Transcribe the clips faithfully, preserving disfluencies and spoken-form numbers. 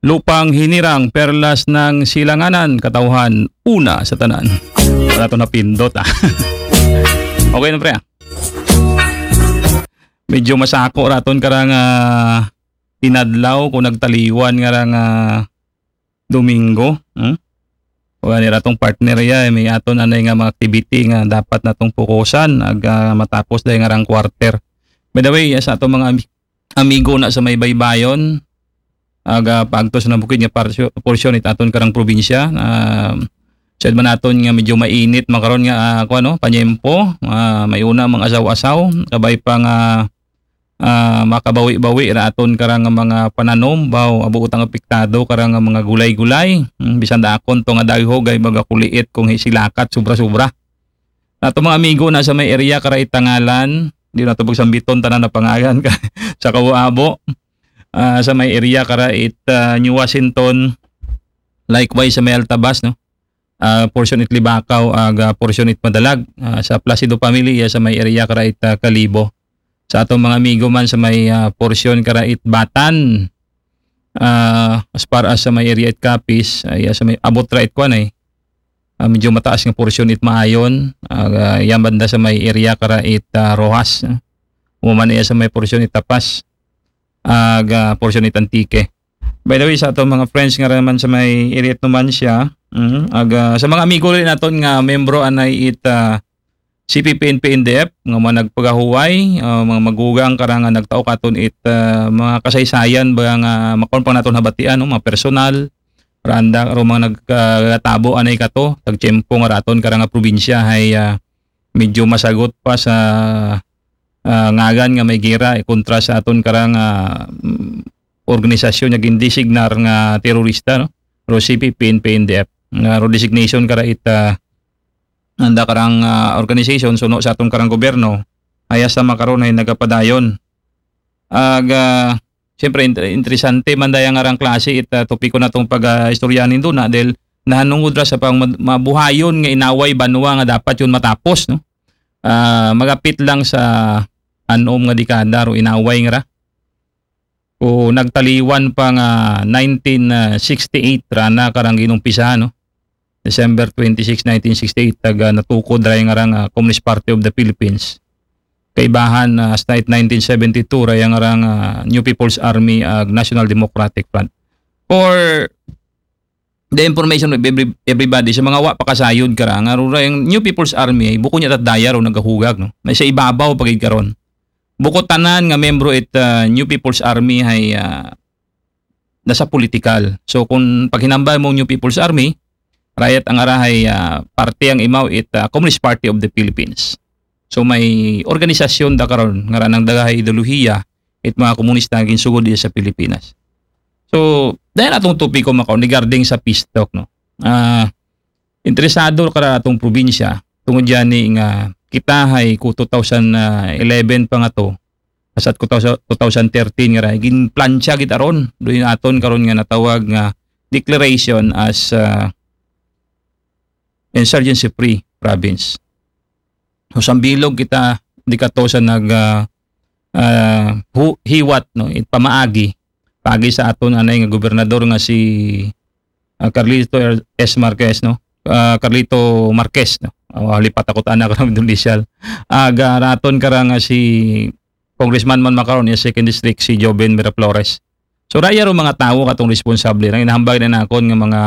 Lupang Hinirang, Perlas ng Silanganan, Katawhan, una sa tanan. Wala to napindot, ah. Okay na, pre, ah. Medyo masako raton karang, ah, inadlaw kung nagtaliwan nga rang, ah, Domingo. Hmm? Wala ni ratong partner ya, eh, may aton anay nga mga activity nga dapat natong pukusan ag, ah, matapos dahil nga rang quarter. By the way, sa atong mga ami- amigo na sa may baybayon, aga pagtos na bukid nga parsyo- portion it aton karang probinsya. Ah, said man naton nga medyo mainit makaron nga, ah, kuwan, no, panyempo, ah, may una mga asaw-asaw, kabay pa nga, ah, makabawi-bawi ra aton karang mga pananom, baw abuot ang apektado karang mga gulay-gulay. Hmm, bisan daakon to nga daghog ay baga kuliit kung hisilakat sobra-sobra. Ato mga amigo na sa may area kara itangalan, di na to pagsambiton tanan na pangalan ka sa Kawabo. Ah, sa may area kara it, ah, New Washington, likewise sa may Altabas, no? Ah, portion it Libacao, aga portion it Madalag. Ah, sa Placido family, iya sa may area kara it, ah, Kalibo. Sa atong mga amigo man sa may, ah, portion kara it Batan, ah, as far as sa may area it Capiz, ay, ah, sa may abot ra it kuwan ay, ah, medyo mataas nga portion it Maayon, ah, yan banda sa may area kara it, ah, Roxas, ah. Umuman iya sa may portion it Tapas, aga portion it Antique. By the way, sa atong mga friends nga naman sa may area it Numancia, mhm, aga sa mga amigo rin naton nga membro anay it, ah, C P P N P N D F, nga mga nagpagahuway, ah, mga magugang kara nga nagtaok aton it, ah, mga kasaysayan ba nga makaon pa naton habatian, no? Mga personal, randa, ro mga nagkatabo anay kato, tagtiyempo nga raton karang probinsya hay, ah, medyo masagot pa sa, ah, ngagan nga may gira, eh, kontra sa aton karang, ah, mm, organisasyon nga gindesignar nga terorista, no? Ro C P P N P N D F. Nga ro designation kara it, ah, anda karang, ah, organization suno sa aton karang gobyerno, ay hasta makaron ay nagapadayon. Aga, siyempre, inter- interesante man daya nga rang klase it, ah, topiko natong pag-istoryahan nindo na dahil nahanungod ra sa pang mad- mabuhayon nga inaway banwa nga dapat yun matapos, no? Ah, magapit lang sa anom nga dekada ro inaway nga ra. O nagtaliwan pa nga nineteen sixty-eight ra na karang ginumpisahan, no? December twenty-six, nineteen sixty-eight, taga natukod ra nga rang, ah, Communist Party of the Philippines. Kaibahan, ah, hasta it nineteen seventy-two ra nga rang, ah, New People's Army ag National Democratic Front. For the information of every, everybody, sa mga wa pa kasayod kara, nga rura yung New People's Army, ay buko niya tatdaya ro nagahugag, no? Na sa ibabaw pagid karon. Buko tanan nga membro it, ah, New People's Army ay, ah, nasa political. So kung paghinambal mo New People's Army, rayat ang arahay, ah, parte ang imaw it, ah, Communist Party of the Philippines. So may organisasyon da karon nga ranang dagahay ideolohiya it mga komunista nga ginsugod diya sa Pilipinas. So, dahil atong topiko makaon regarding sa peace talk, no? Ah, interesado kara atong probinsya tungod yani nga kita hay ku two thousand eleven pa nga to, asat ku two thousand thirteen nga ra ginplantsa gid aron doon aton karon nga natawag nga declaration as, ah, insurgency free province. So, sambilog kita di kato sa nag, ah, ah, hu- hiwat, no, it pamaagi pagi sa aton anay nga gobernador nga si, ah, Carlito Er- S Marquez, no? Ah, Carlito Marquez, no? Ah, lipat ako ta anak ng Indonesia. Aga raton kara nga si Congressman man makaron niya second district si Joven Miraflores. So raya ro mga tawo katong responsable na inahambag na nakon nga mga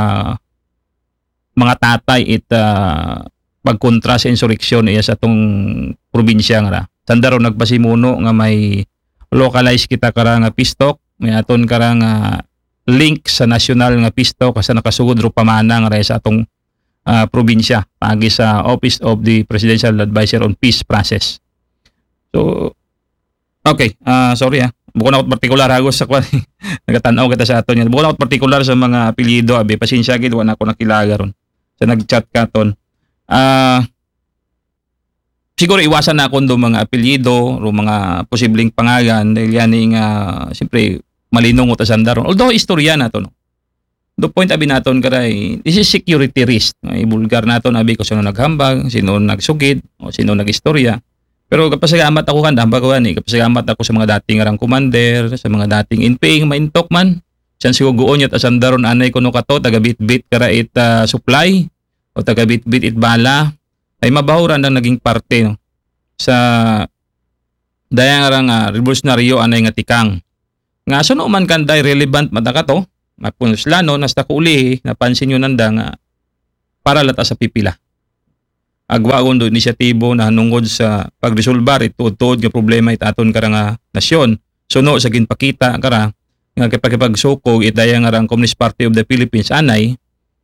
mga tatay it, ah, pagkontra sa insureksyon iya sa atong probinsya nga ra. Sanda ro nagpasimuno nga may localize kita kara nga peace talk, may aton kara nga link sa nasyonal nga peace talk sa nakasugod ro pamana nga ra sa atong, ah, probinsya pagi sa Office of the Presidential Advisor on Peace Process. So, okay, ah, sorry, ah. Bukon ako partikular, hagos sa kwan. Nagatan-aw kita sa aton yan. Bukon ako partikular sa mga apelyido, abi, pasensya gid, wala na ako nakilaga ron. Sa nag-chat katon. Ah, siguro iwasan na akong do mga apelyido, o mga posibleng pangalan, dahil yan nga, siyempre, malinong o tasanda ron. Although, istorya na to, no? Do point abi naton karay, this is security risk. Ibulgar naton abi kung sino naghambag, sino nagsugid, o sino nagistorya. Pero kapasalamat ako kan hambag ko ani, kapasalamat ako sa mga dating arang commander, sa mga dating N P A nga maintok man. Siyan siguro guon yat asanda ron anay kuno kato, taga-bitbit kara it, ah, supply, o taga-bitbit it bala, ay mabaho ra nanda naging parte, no, sa daya nga ra nga revolusyonaryo anay nga tikang. Nga suno man kanda, relevant man ta kato, mapun sila, no, hasta ko ulihi, napansin nyo nanda nga para la ta sa pipila. Agwagon do inisyatibo na hanungod sa pagresolbar it tuod-tuod nga problema it aton kara nga nasyon. Suno sa ginpakita kara nga kipakipagsukog it daya nga rang Communist Party of the Philippines anay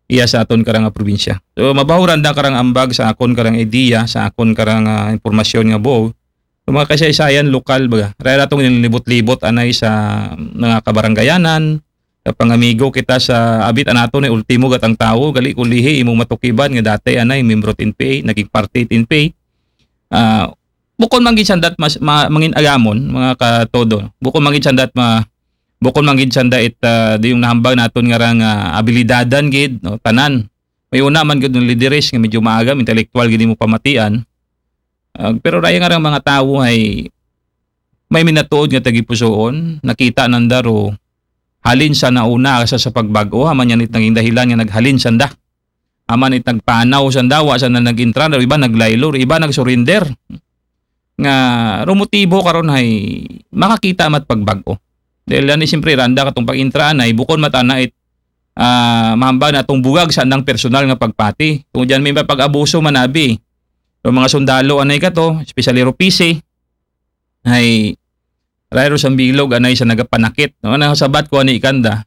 iya sa aton kara nga probinsya. So, mabaho ra nanda karang ambag sa akon karang idea, sa akon karang, ah, impormasyon nga buo. So, mga kasaysayan lokal, baga. Raya ra tong nilibot-libot anay sa mga kabaranggayanan, sa pangamigo kita sa abit anato na ultimo gat ang tawo, gali ko lihi imong matukiban nga dati anay membro it N P A, naging parte it N P A. Ah, bukon man gid sandat mas ma, mangin agamon, mga katodo. Bukon man gid sandat ma, bukon man gid sanda it, ah, di yung nahambag naton nga rang, ah, abilidadan gid, no, tanan. May una man gid ng lideres nga medyo maagam, intelektual gid mo pamatian. Ah, pero raya nga rang mga tawo ay may minatuod nga tagipusoon, nakita nanda ro halin sa nauna sa, sa pagbag-o, haman yan it naging dahilan nga naghalin sanda. Haman it nagpanaw sanda, wa sanda nag-intra, ro iba naglaylo, ro iba nag-surrender. Nga rumotibo karon hay makakita mat pagbag-o. Dahil ani siyempre randa katong pag-intra anay, bukon mat ana it, ah, mahambag natong bugag sa andang personal nga pagpati. Tungod diyan may pag-abuso man abi. Yung mga sundalo anay kato, especially ro P C, ay rayro sa bilog anay sa nagapanakit. No? Ano sabat ko ani kanda?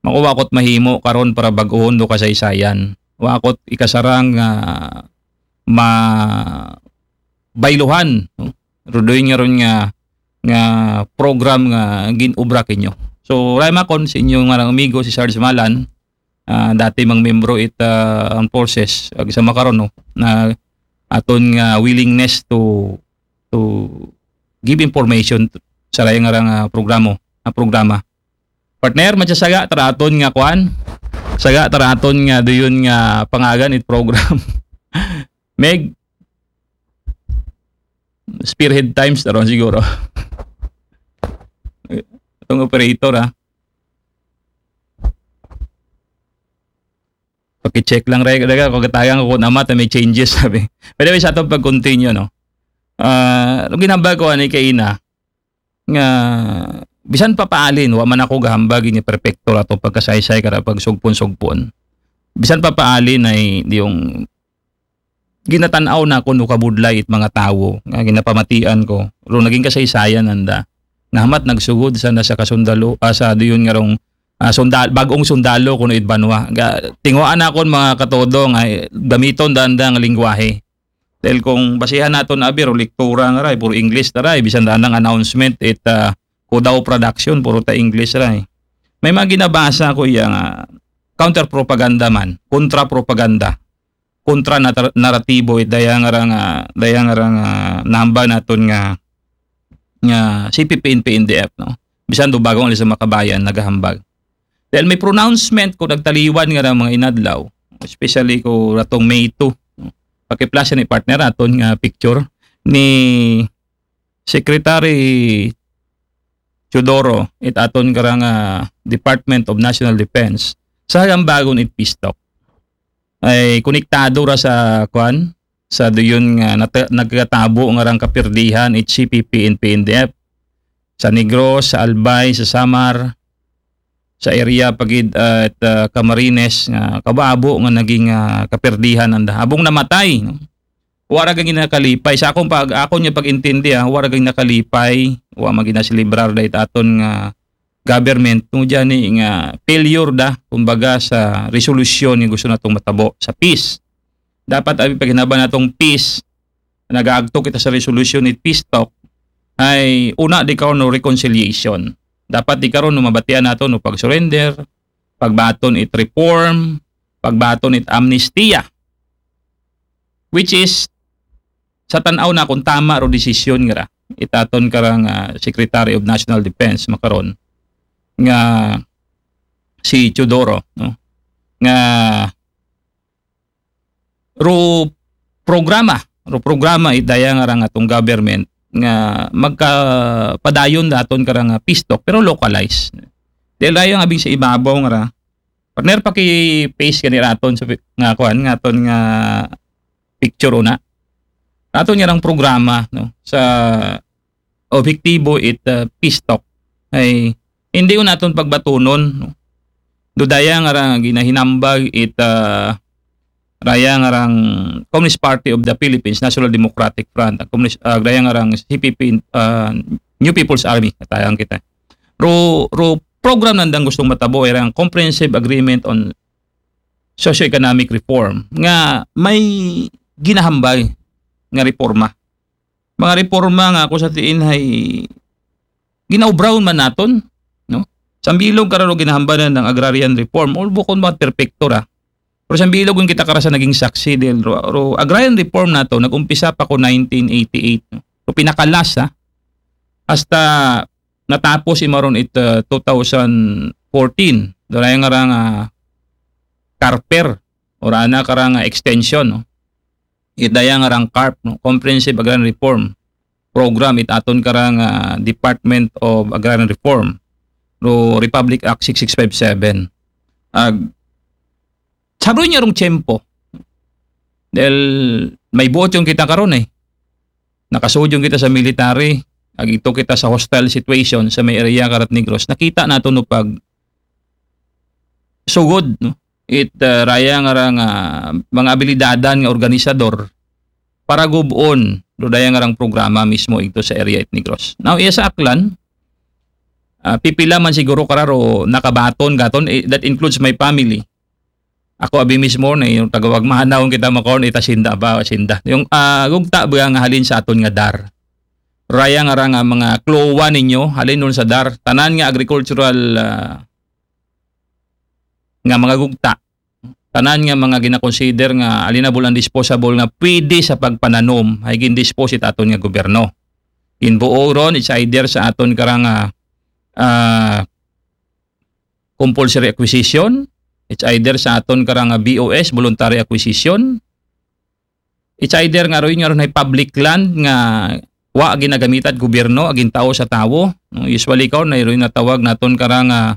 Makuha ko't mahimo karon para bag-ohon do kasaysayan. Wa ko't ikasarang nga ma, bayluhan, no? Rudoy nga ron nga, nga program nga ginubra kinyo. So, raya makon sa inyo nga rang amigo si Sarge Malan, ah, dati mang membro it, ah, ang forces, ag sa makaron, no, na aton nga willingness to, to give information to, sa raya nga rang, ah, programo, ah, programa. Partner, matsa saga taraton nga kwan. Saga taraton nga duyon nga pangagan it program. Meg, Spearhead Times taron siguro. Itong operator, ha. Paki-check lang, Reg. Reg, ako katagang ko kung amat na may changes, sabi. By the way, sa atong pag-continue, no? Ah, ang ginambag ko ani kaina, nga bisan pa paalin, wa man ako gahambag ini perfecto ato pagkasaysay kara pagsugpon-sugpon. Bisan pa paalin ay di yung ginatan-aw na ko no kabudlay it mga tawo nga ginapamatian ko. Ro naging kasaysayan nanda. Nga hamat nagsugod sa nasa kasundalo, ah, sa diyon nga rong, ah, sundal, bag-ong sundalo kuno it banwa. Ga, tinguhaan nakon mga katodo nga, eh, gamiton danda nga lingwahe. Dahil kung basihan naton abi ro lektura nga ray, puro English na ray, bisan daan ang announcement it, ah, Kudaw Production, puro ta English ray. May mga ginabasa ko iya nga counter propaganda man, kontra propaganda, kontra nata-, naratibo it daya nga ra nga, daya nga ra nga nahambag naton nga, nga C P P N P N D F, no. Bisan do bag-ong Alas sa Makabayan nagahambag. Dahil may pronouncement ko nagtaliwan nga ra mga inadlaw, especially ko ratong May two, no? Paki-flash ni partner aton nga picture ni Secretary Teodoro, it aton karang, ah, Department of National Defense, sa hagambagon it peace talk. Ay konektado ra sa, kwan, sa duyon nga nata-, nagkatabo nga rang kapirdihan it C P P and P N D F. Sa Negros, sa Albay, sa Samar, sa area pagid, ah, at, ah, Camarines nga kababo nga naging, ah, kapirdihan nanda. Abong namatay, no? Wa ra gani nakalipay. Sa akong pag-, akon nga pag-intindi, ah, wa ra gani nakalipay, wa man gani naselebrar da it aton nga government, no, diyan ni nga failure da, kumbaga, sa resolusyon nga gusto natong matabo sa peace. Dapat abi paghinaba natong peace, nagaagto kita sa resolution it peace talk, ay una di karon no reconciliation. Dapat di karon no mabatian nato no pag-surrender, pagbaton it reform, pagbaton it amnestia. Which is, sa tan-aw na kung tama ro desisyon nga ra, itaton karang, ah, Secretary of National Defense makaron nga si Teodoro, no? Nga ro programa, ro programa it daya nga rang atong government nga magkapadayon daton karang, ah, peace talk, pero localized. Dahil dayon abi sa ibabaw nga ra. Partner, paki-paste gani ra aton sa pi-, nga kuan, nga aton nga picture una. Aton nga rang programa, no, sa objektibo it, ah, peace talk. Ay, hindi ko naton pagbatunon, no. Dudaya nga ra ginahinambag it, ah, raya nga rang Communist Party of the Philippines, National Democratic Front, ang Communist, ah, raya nga rang C P P, ah, New People's Army, katayan kita. Ro, ro program nandang gustong matabo ay rang Comprehensive Agreement on Socio-Economic Reform nga may ginahambal nga reforma. Mga reforma nga ako sa tiin ay ginaubraw man naton, no? Sambilog kararo ginahambalan ng agrarian reform, or bukon ba perpekto ra. Pero sambilog yung kita kara sa naging saksi dahil ro, ro agrarian reform nato, nag-umpisa pa ko nineteen eighty-eight, no? Pero pinakalasa, hasta natapos imaron it, uh, two thousand fourteen. Doon nga rang, uh, CARPER, or ana karang, uh, extension, no? It daya nga rang CARP, no? Comprehensive Agrarian Reform Program, it aton karang, uh, Department of Agrarian Reform, no, Republic Act six six five seven. Ag, sabro niya rong tiyempo. Dahil may buot yung kita karon eh. Nakasud yung kita sa military, ag ito kita sa hostile situation sa may area karat Negros. Nakita nato no pag sugod, no? It, uh, raya nga rang, uh, mga abilidadan nga organisador para gubon do daya nga rang programa mismo ito sa area it Negros. Now, iya sa Aklan, uh, pipila man siguro kararo nakabaton gaton, eh, that includes my family. Ako abi mismo na yung tagawag mahanaw kita makaon ita sinda ba, sinda. Yung, ah, gugta ba nga halin sa aton nga DAR. Raya nga ra nga mga klowa ninyo, halin nun sa DAR. Tanan nga agricultural, ah, nga mga gugta. Tanan nga mga ginakonsider nga alienable and disposable nga pwede sa pagpananom, ay gindispose it aton nga gobyerno. Ginbuo ron, it's either sa aton karang, ah, ah, compulsory acquisition, it's either sa aton karang, ah, B O S, voluntary acquisition, it's either nga ron, nga ron ay public land nga wa ginagamita it gobyerno, agin tao sa tawo. No? Usually karon na ron natawag naton karang, ah,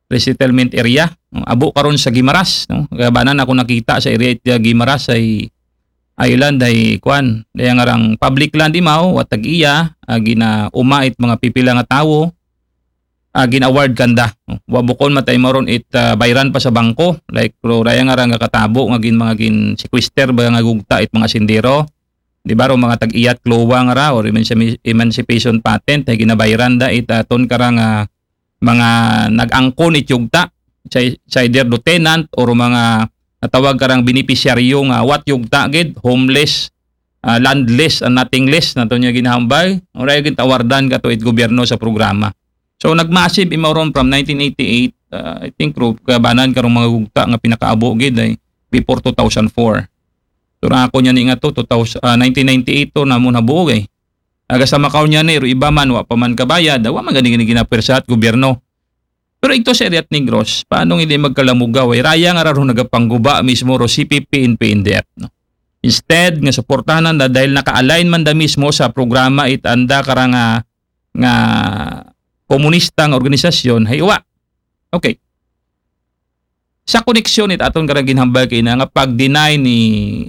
resettlement area. No? Abo karon sa Guimaras, no? Kaya ba na ako nakita sa area it Guimaras ay island ay kwan, daya nga rang public land imaw, wa tag-iya, ah, ginauma it mga pipila nga tawo, ah, gin-award kanda. No? Wa bukon matay maron it, ah, bayran pa sa bangko, like, pero raya nga ra nga katabo nga gin mga gin sequester ba nga gugta it mga sendero. Di ba, ro mga tag-iyat klowa nga ra, or emanci-, emancipation patent, ay ginabayran da it aton karang, ah, mga nag-angkon it yugta, sa, sa either lieutenant or mga natawag karang beneficiaryo nga wa it yugta gid, homeless, ah, landless and nothingness nato niya ginahambal, uray gid awardan kato it gobyerno sa programa. So nag-massive imaw ron from nineteen eighty-eight, ah, I think ro kabanan karong mga gugta nga pinakaabo gid ay before two thousand four. So ra ako niya ni nga to, two thousand, ah, nineteen ninety-eight to namo nabuo eh. Aga sa makaw niya ni, ro iba man, wa pa man kabayad, wa man gani gani ginapwersa it gobyerno. Pero ito sa area it Negros, paano hindi magkalamugaw? Ay raya nga ra ro nagapangguba mismo ro C P P, N P, N D F, no? Instead nga suportahan da dahil naka-align man da mismo sa programa it anda karang, ah, nga komunista nga organisasyon, hay wa. Okay. Sa koneksyon it aton karang ginhambal kay na nga pag-deny ni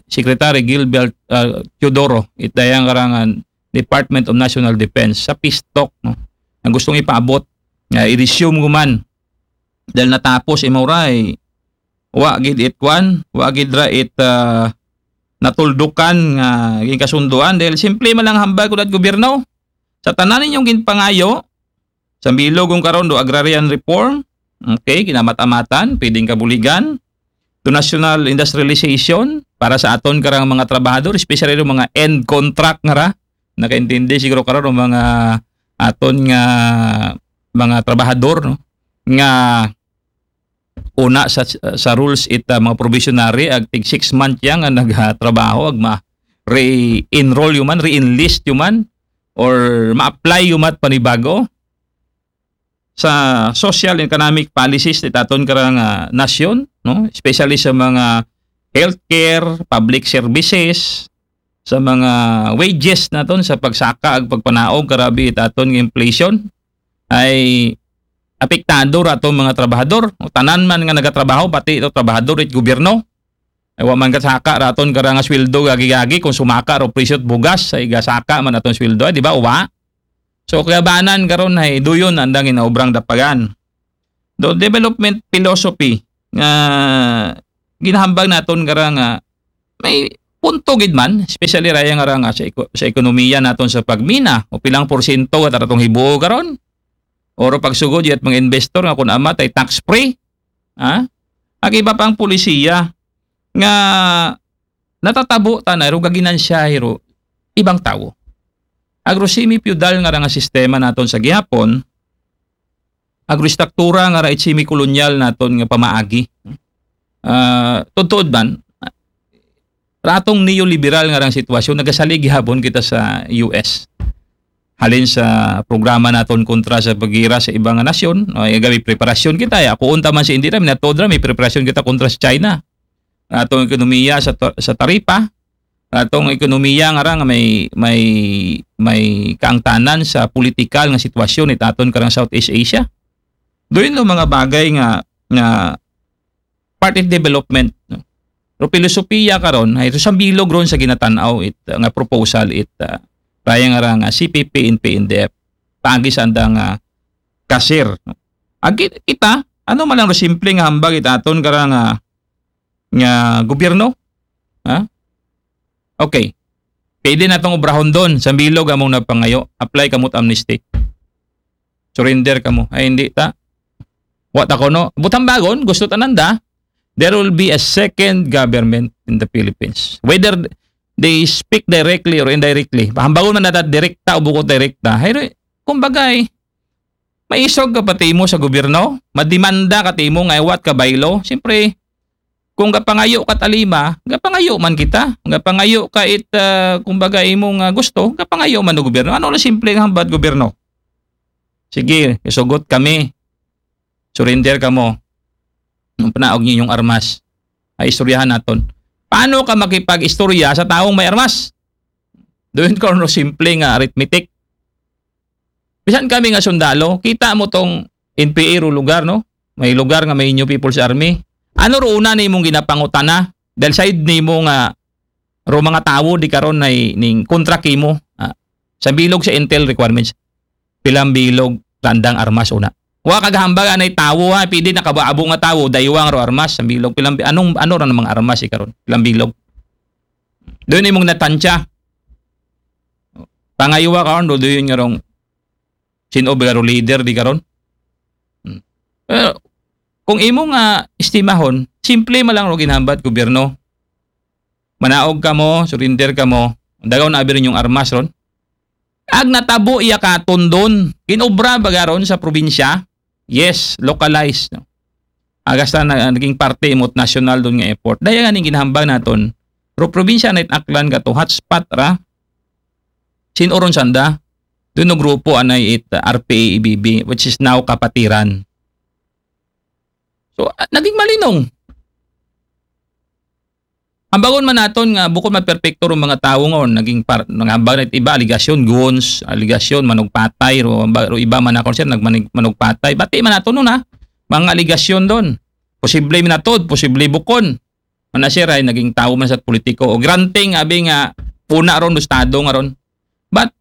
Secretary Gilbert, ah, Teodoro, it dayang karang, ah, Department of National Defense sa peace talk, no? Ang gustong ipaabot nga i-resume ko man dahil natapos imaw ra ay wa gid it kwan, wa gid ra it, ah, natuldukan nga ginkasunduan dahil simple man lang hambal ko dat gobyerno. Sa tanan ninyong ginpangayo, sa bilog kung karon do agrarian reform, okay, ginamat-amatan, pwedeng kabuligan, do national industrialization para sa aton karang mga trabahador, especially do mga end contract nga ra, nakaintindi siguro karon ang mga aton nga mga trabahador, no? Nga una sa, sa rules it, ah, mga probationary, ag tig six month yang nga nagtrabaho, ag ma-re-enroll yuman, re-enlist yuman, or ma-apply yumat panibago sa social and economic policies it aton karang, ah, nasyon, no? Especially sa mga healthcare, public services, sa mga wages naton, sa pagsaka ag pagpanaog karabi it aton nga inflation, ay apektado ra aton mga trabahador. O, tanan man nga nagatrabaho, pati ito trabahador it gobyerno. Ay, wa man kasaka ra aton karang nga sweldo gagi-gagi kung sumaka ra presyo it bugas, ay gasaka man aton sweldo, ay, di ba? Wa. So, kabanan karon ay duyon andang inaobrang dapagan. Do development philosophy nga ginahambag naton kara nga may punto gid man, especially raya nga ra nga sa eko-, sa ekonomiya naton sa pagmina, o pilang porsyento at atong hibuo karon, or pagsugod yat mga investor nga kun amat ay tax free, ha? Ag iba pang polisiya nga natatabo ta na ro gaginansya ro ibang tawo. Agro semi-feudal nga ra nga sistema naton sa gihapon, agroestruktura nga ra it semi-kolonyal naton nga pamaagi. Ah, tuod-tuod man, ratong neoliberal nga rang sitwasyon, nagasalig gihapon kita sa U S. Halin sa programa naton kontra sa paggira sa ibang nga nasyon, no, ay gabi preparasyon kita, ya, kuon ta man si Indira, minatod ra, may preparasyon kita kontra sa China. Atong ekonomiya sa ta-, sa taripa, atong ekonomiya nga ra nga may, may, may kaangtanan sa politikal nga sitwasyon it aton karang Southeast Asia. Doon no mga bagay nga, nga part it development, no? Pero pilosopiya karon, ay ito sa bilog ron sa ginatanaw it, uh, nga proposal it, uh, raya nga ra nga C P P and P N D F. Paagi sa andang, uh, kasir, no? Agi kita, ano man lang ro simple nga hambag it aton karang, uh, nga gobyerno? Ha? Okay. Pwede natong obrahon doon sa bilog among napangayo. Apply kamot amnesty. Surrender kamo. Ay, hindi ta. Wa ta kuno. Butang bagon, gusto tananda, there will be a second government in the Philippines. Whether they speak directly or indirectly. Pahambagon man nata direkta o bukod direkta. Hay, kumbaga, eh, maisog ka pa timo sa gobyerno, mademanda ka timo nga iwat ka baylo. Siyempre, kung gapangayo ka talima, gapangayo man kita. Gapangayo ka it, ah, kumbaga, imo nga gusto, gapangayo man ng gobyerno. Ano na simple nga hambad gobyerno? Sige, isugot kami. Surrender kamo. Nung panaog niyo yung armas, ay istoryahan naton. Paano ka makipag-istorya sa taong may armas? Doon ko no simple nga arithmetic. Bisan kami nga sundalo, kita mo tong N P A ro lugar, no? May lugar nga may New People's Army. Ano ro una nimong ginapangutana? Dahil side nimo nga ro mga tawo di karon ay ning kontra kimo. Ah, sa bilog sa intel requirements, pilang bilog randang armas una. Wa kagahambag anay tawo ha, pwede nakabaabo nga tawo, daywang ro armas, sa bilog pilang bi-, anong, ano ra namang armas i karon? Pilang bilog. Doon imong natansya. Pangaywa karon, do doon nga rong sin-o ba ro leader di karon? Hmm. Pero, kung imo nga estimahon, simple man lang ro ginhambat gobyerno. Manaog kamo, surrender kamo, dagaw na abi rin yung armas ron. Ag natabo iya ka tundon, kinobra ba garon sa probinsya? Yes, localized, no? Agas na, na-, naging parte imot national doon nga effort. Daya nga ning ginhambang naton. Pero probinsya na it Aklan ka to, hotspot ra. Sin-o ron sanda? Doon no grupo anay it, uh, R P A E B B, which is now Kapatiran. So, ah, naging malinong. Hambagon man naton nga bukod man perpekto rong mga tawo nga naging par-, nangambag na it iba, aligasyon, goons, aligasyon, manugpatay, ro, ba-, ro iba man ako, sir, nagmanig-, manugpatay. Bati man naton nun, ha? Mga aligasyon doon. Posible minatod, posible bukon. Mana, sir, ay naging tawo man sa politiko. O granting, abi nga, puna ron, do estado nga ron. But,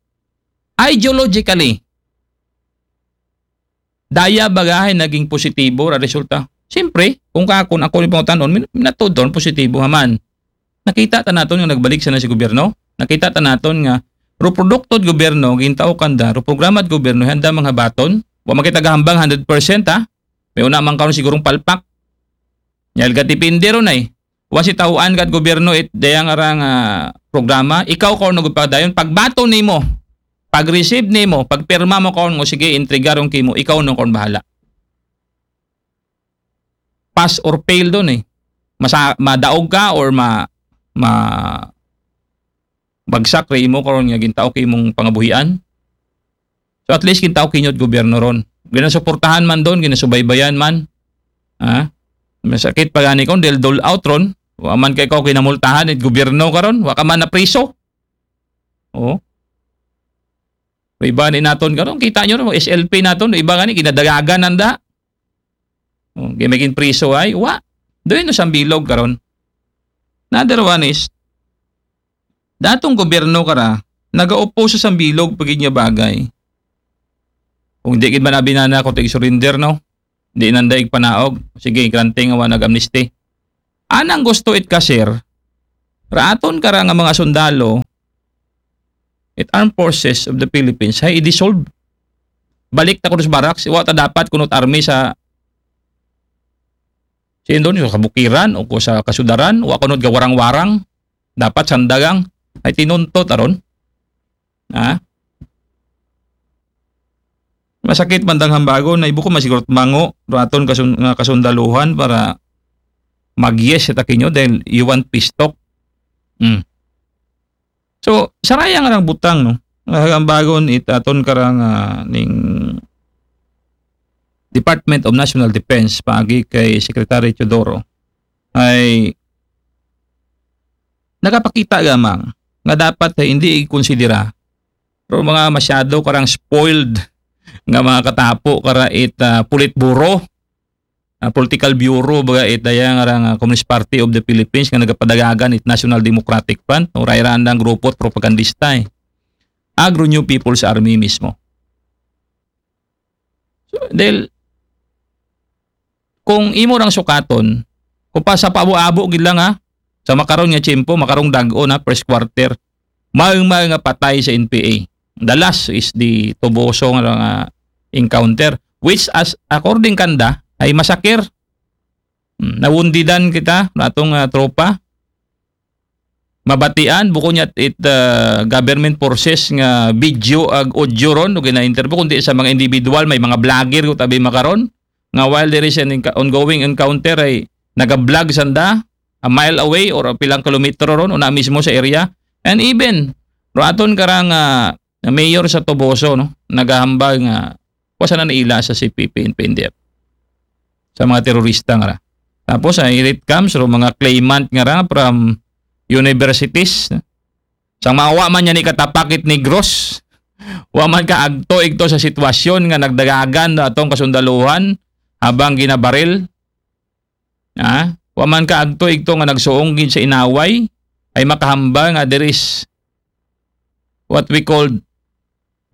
ideologically, daya bagahay naging positibo ra resulta. Siyempre, kung ka, kung ako yung pangutanon, min-, minatod doon, positibo haman. Nakita ta naton nga nagbalik sana si gobyerno. Nakita ta naton nga, ro produkto gobyerno, gintao kanda, ro programa gobyerno, handa mga baton. Wa makita gahambang hundred percent, ha? May una man karon sigurong palpak. Nyal ka depende ron ay. Wa si tahuan kat gobyerno it dayang arang, ah, programa. Ikaw karon nagpadayon. Pagbaton nimo, pag-receive nimo, pagpirma mo karon mo, sige, entrega ron kimo, ikaw no karon bahala. Pass or fail doon eh. Masa-, madaog ka or ma-, ma-, bagsak ra imo karon nga gintao kay imong pangabuhian. So at least gintao kinyo it gobyerno ron. Ginasuportahan man doon, ginasubaybayan man. Ha? Masakit pa gani kon dahil dole out ron. Wa man kay ko kinamultahan it gobyerno karon, wa ka man na priso. Oh. Iba ni naton karon, kita nyo, S L P naton, iba gani, kinadagagan nanda. Oh, gimigin priso ay, wa. Doon no sa bilog karon. Another one is, datong gobyerno kara, nagaupo sa sambilog pagid nga bagay. Kung di gid man abinana ko tig surrender, no? Di nanda igpanaog. Sige, granting nga wa nag-amnesty. Anang gusto it kasir, raaton kara nga mga sundalo, it Armed Forces of the Philippines, ay i-dissolve. Balik ta kuno sa barracks, wa ta dapat kunot army sa sindon, sa kabukiran o ko sa kasudaran, wa kunot gawarang-warang, dapat sandagang, ay tinuntot aron. Ha? Masakit man dang hambagon, na ibuko masigurot mango, raton kasun, nga kasundaluhan para mag-yes ita kinyo dahil you want peace talk. Hmm. So, saraya nga lang butang, no? Nga hambagon it aton karang ah, ning Department of National Defense paagi kay Secretary Teodoro ay nakapakita gamang nga dapat ay hindi ikonsidera pero mga masyado karang spoiled nga mga katapo kara it ah, Politburo, ah, political bureau, baga it daya nga rang ah, Communist Party of the Philippines nga nagapadagagan it National Democratic Front, o rayran ng grupo at propagandista eh. Agro New People's Army mismo. So, dahil kung imo rang sukaton, kung pa sa paabo-abo gid lang ha, sa makaron nga tiyempo, makarong dag-o na first quarter, maong-maong nga patay sa N P A. The last is the Toboso nga, nga encounter, which as according kanda ay masakir. Hmm, nawundidan kita, natong ah, tropa. Mabatian, buko niya it ah, government forces nga video ag audio ron, o gina-interview, kundi sa mga individual, may mga vlogger ko tabi makaron, nga while there is an enc- ongoing encounter ay nag-vlog sanda, a mile away or pilang kilometro ron, una mismo sa area. And even, ro aton karang ah, na mayor sa Toboso, no? Nagahambal nga, wa sana naila sa C P P and P N D F. Sa mga terorista nga ra. Tapos, ah, here it comes, ro mga claimant nga ra from universities. Sa mga wa man niya ni katapakit Negros, wa man ka agto igto sa sitwasyon nga nagdagagan na atong kasundaluhan habang ginabaril. Ha? Wa man ka agto igto nga nagsuong gid sa inaway, ay makahambal nga there is what we called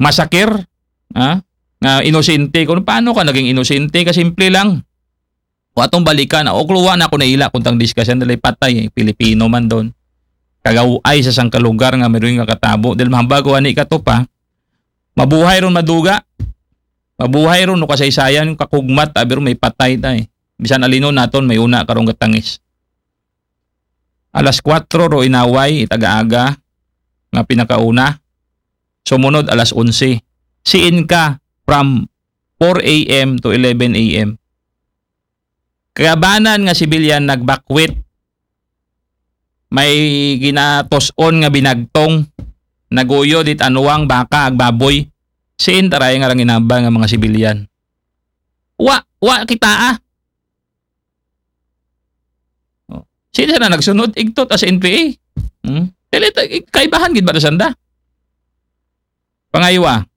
massacre, ha? Nga inosente. Kung paano ka naging inosente, kasimple lang. O atong balikan, o kluwa na ako naila kung tang discussion nila patay, eh, Pilipino man doon. Kagaway sa sangka lugar nga meron nga katabo. Dahil mahambal ko ani ka to pa, mabuhay ron maduga. Mabuhay ron no kasaysayan, kakugmat, abi ron may patay tay. Bisan alino naton, may una karong gatangis. Alas kwatro ro inaway, itaga-aga, nga pinakauna. Sumunod alas onse. Siin ka from four a m to eleven a m. Kayabanan nga sibilyan nagbakwit. May ginatos-on nga binagtong. Naguyod it anuwang baka ag baboy. Siin taray nga rang inabang nga mga sibilyan. Wa, wa kita ah. Oh. Sino na nagsunod? Igtot as N P A. Hmm? Dili ta-, kaibahan gid ba na sanda? Pangaywa.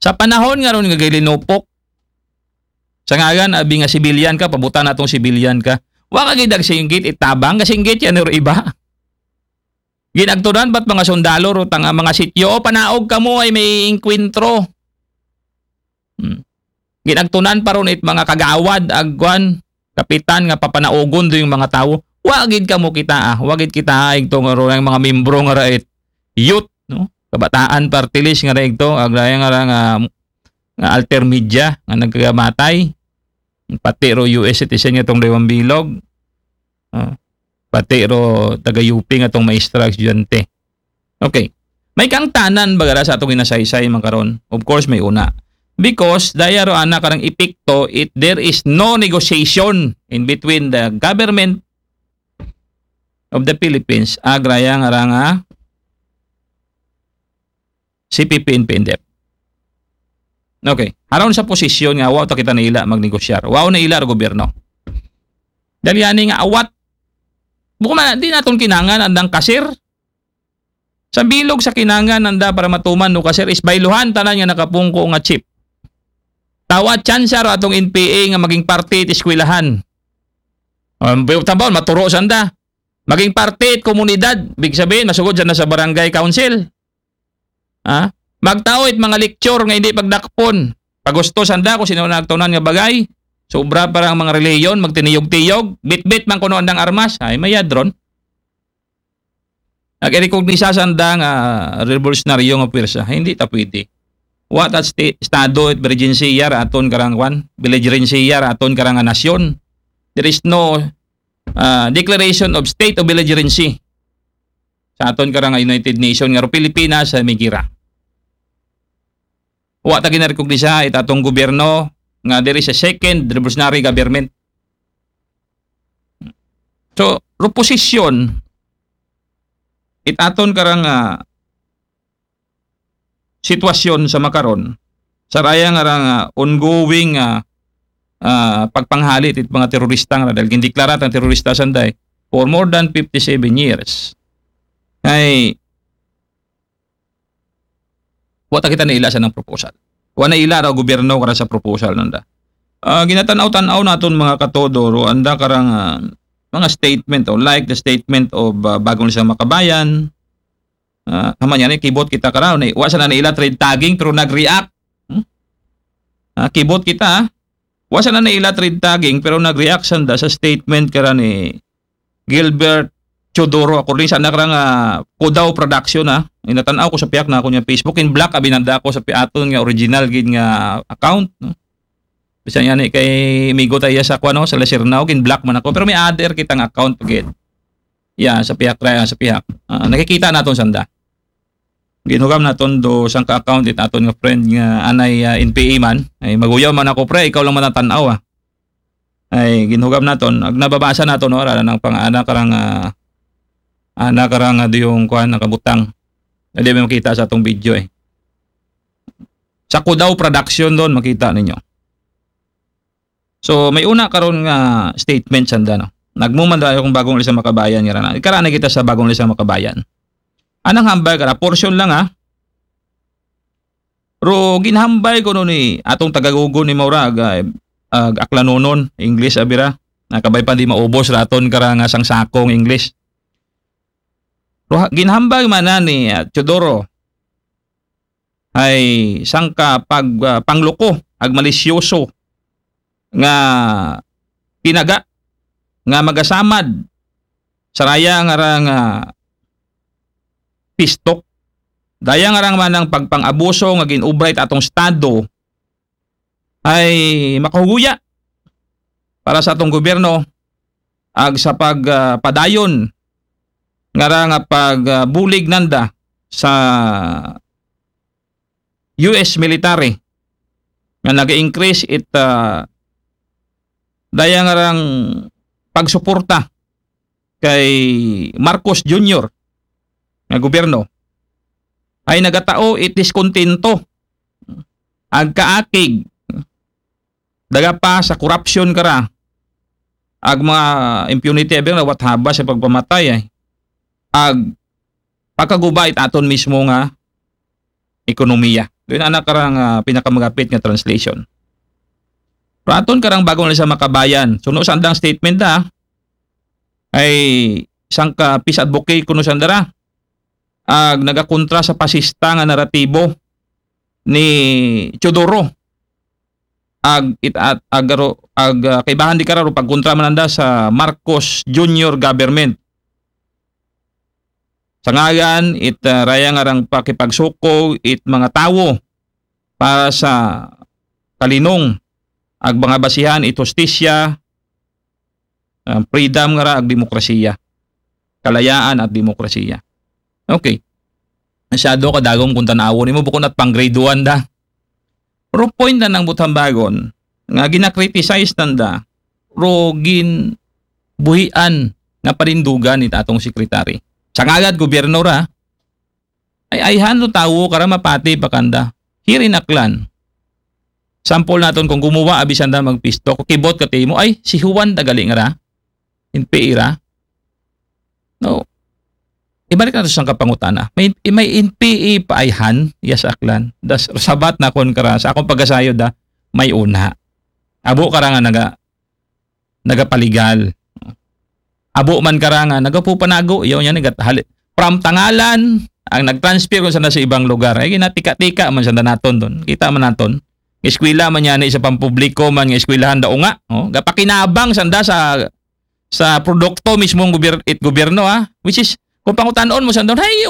Sa panahon nga ron nga gilinupok, sa ngalan, abi nga sibilyan ka, pabutan natong sibilyan ka. Wa ka gid nagsinggit, itabang, kasinggit yan, or iba. Ginagtunan ba't mga sundalo, ro tanga mga sityo, o panaog kamo ay may inkwentro. Hmm. Ginagtunan pa ron it mga kagawad, agwan, kapitan nga papanaugon do yung mga tawo. Wa gid kamo kita ah, wa gid kita ah, igto nga ro ang mga membro nga ra it youth, no? Kabataan party list nga ra igto, agraya nga ra nga, nga alter media nga nagkagamatay. Pati ro U S citizen nga tong Dewang Bilog. Ah, pati ro taga U P nga tong maestra, estudyante. Okay. May kangtanan bagara sa atong ginasaysay man karon. Of course, may una. Because daya ro ana karang epekto, it, there is no negotiation in between the government of the Philippines, agraya nga ra nga C P P and P N D F. Okay. Aron sa posisyon nga, wa ta kita naila magnegosyar. Wa naila ro gobyerno. Dali ani nga awat. Buko man, di naton kinangan andang kasir. Sa bilog sa kinangan nanda para matuman, no, ka, sir, is bayluhan tanan nga nakapungko nga chief. Tawa tsansa ro atong N P A nga maging parte it eskwelahan. Um, tambaw, maturo sanda. Maging parte it komunidad, big sabihin, masugod sanda sa barangay council. Ha? Magtao it mga lecture nga hindi pagdakpon. Pagusto sanda kung sino nagtunan nga bagay. Sobra para ang mga reliyon, magtiniyog-tiyog, bitbit man kuno andang armas. Ay, mayad ron. Nag-recognize sanda nga revolusyonaryo nga pwersa. Hindi ta pwede. Wa ta sti-, estado, emergency ra aton karang kwan, belligerency ra aton karang nasyon. There is no ah, declaration of state of belligerency sa aton karang United Nation nga ro Pilipinas sa migira. Wa ta ginarekognisa it atong gobyerno nga there is a second revolutionary government. So, reposition it aton karang ah, sitwasyon sa makaron, sa raya nga rang, ah, ongoing, ah, ah, pagpanghali it mga terorista nga dahil gindeklara ang terorista sanday for more than fifty-seven years. Ay, wa ta kita naila sa nang proposal. Wa naila ra gobyerno kara sa proposal nanda. Ah, ginatanaw-tanaw naton mga katodo, ro anda karang, ah, mga statement o like the statement of, ah, Bagong Lisang Makabayan, Ah, haman yan, eh, kibot kita kara, ni, wa sana naila trade tagging, pero nag-react. Hmm? Ah, kibot kita, ah. Wa sana naila trade tagging, pero nag-react sanda sa statement kara ni Gilbert Teodoro. According sa anak ra nga Kudaw Production, ah. Inatanaw ko sa pihak na ako niya Facebook, in black, abinanda ako sa piaton nga original gid nga account, no? Bisan yan, eh, kay migo tayo sa, kuwan, no, sa Lasirnao, gin-block man ako. Pero may other kitang account gid. Yeah, sa pihak ra, sa pihak. Ah, nakikita naton sanda. Ginhugam naton do sangka account it aton nga friend nga anay, ah, N P A man. Ay, maguyaw man ako, pre, ikaw lang man ang tanaw, ah. Ay, ginhugam naton. Ag nababasa naton, no, ara nang pang-, ana karang, ah, ana karang, ah, di yung kuan, nakabutang. Hindi mo makita sa atong video, eh. Sa Kudaw Production doon, makita ninyo. So, may una karon nga statement sanda, no? Nagmuman daw akong Bagong Lisang Makabayan nga rana. Ikarana kita sa Bagong Lisang Makabayan. Anang hambal kara, portion lang, ha. Ro ginhambal ko no ni atong tagagugon ni Maura, ag, ag Aklanonon, English, abira. Nakabay pa di maubos raton kara nga sangsakong English. Ro ha-, ginhambal man na ni, ah, Teodoro ay sangka pag, ah, pangloko, ag malisyoso nga tinaga nga magasamad sa raya nga ra nga pistok. Daya nga rang manang pagpang-abuso nga ginubra it atong estado ay makahuguya para sa atong gobyerno ag sa pag, ah, padayon nga ra nga pag, ah, bulig nanda sa U S military nga nag-increase it, ah, daya nga rang pagsuporta kay Marcos Junior nga gobyerno ay nagatao it diskontento ag kaakig daga pa sa korupsyon kara ag mga impunity, abi na what haba sa pagpamatay, eh. Ag pagkaguba it aton mismo nga ekonomiya. Doon anak karang, ah, pinakamagapit nga translation. Pero aton karang Bagong Lisang Makabayan. Suno sa andang statement, ha, ay sangka peace advocate kuno sanda ra ag nagakontra sa pasista nga naratibo ni Teodoro. Ag it-, at, ag, aro-, ag, ah, kaibahan di kara ro pagkontra man nanda sa Marcos Junior government. Sa ngalan it, ah, raya nga rang pakipagsuko it mga tawo para sa kalinong ag mga basihan it hustisya, ah, freedom nga ra ag demokrasiya. Kalayaan at demokrasiya. Okay. Masyado ka dagom kung tanawon nimo, bukon at pang grade one da. Pero point na nang buthambagon nga gina-criticize nanda, pero ginbuhian nga panindugan it atong secretary. Sa ngagad gobyerno ra, ay ayhan no tawo kara mapati pa kanda. Here in Aklan. Sample naton kung gumuwa abi sanda magpisto, kibot ka timo, ay, si Juan da gali nga ra. In P A ra. No. ibalik naton sa pangutana. May, may N P A pa ayhan, ya sa Aklan. Das, sabat nakon kara, sa akon pagasayod, ha, may una. Abo kara nga naga, nagapaligal. Abo man kara nga nagapupanago, yaw niya, nagat-, hali-, from Tangalan, ang nag-transfer kon sanda sa ibang lugar. Ay, ginatika-tika man sanda naton doon. Kita man naton. Eskwela man niya ni sa pampubliko man nga eskwelahan daw nga. Oh, gapakinabang sanda sa, sa produkto mismong gobyerno, it gobyerno, ha. Which is, kung pangutan-on mo sanda, ay,